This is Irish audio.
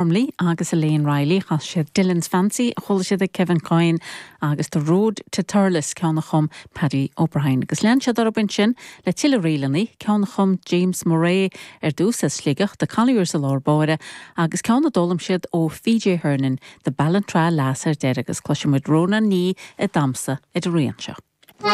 Gormley agus Elaine Reilly. Chas siad Dillon's Fancy, a chuala siad ag Kevin Coyne, agus The Road to Thurles, ceann a chum Paddy O'Brien. Agus lean siad orthu ansin le tuilleadh ríleanna, ceann a chum James Murray ar dtús as Sligeach, The Colliers i lár báire, agus ceann a d'fhoghlaim siad ó PJ Hernon, The Ballintra Lass ar deireadh, agus cloisfidh muid Rónán Ní ag damhsa ar an rian seo.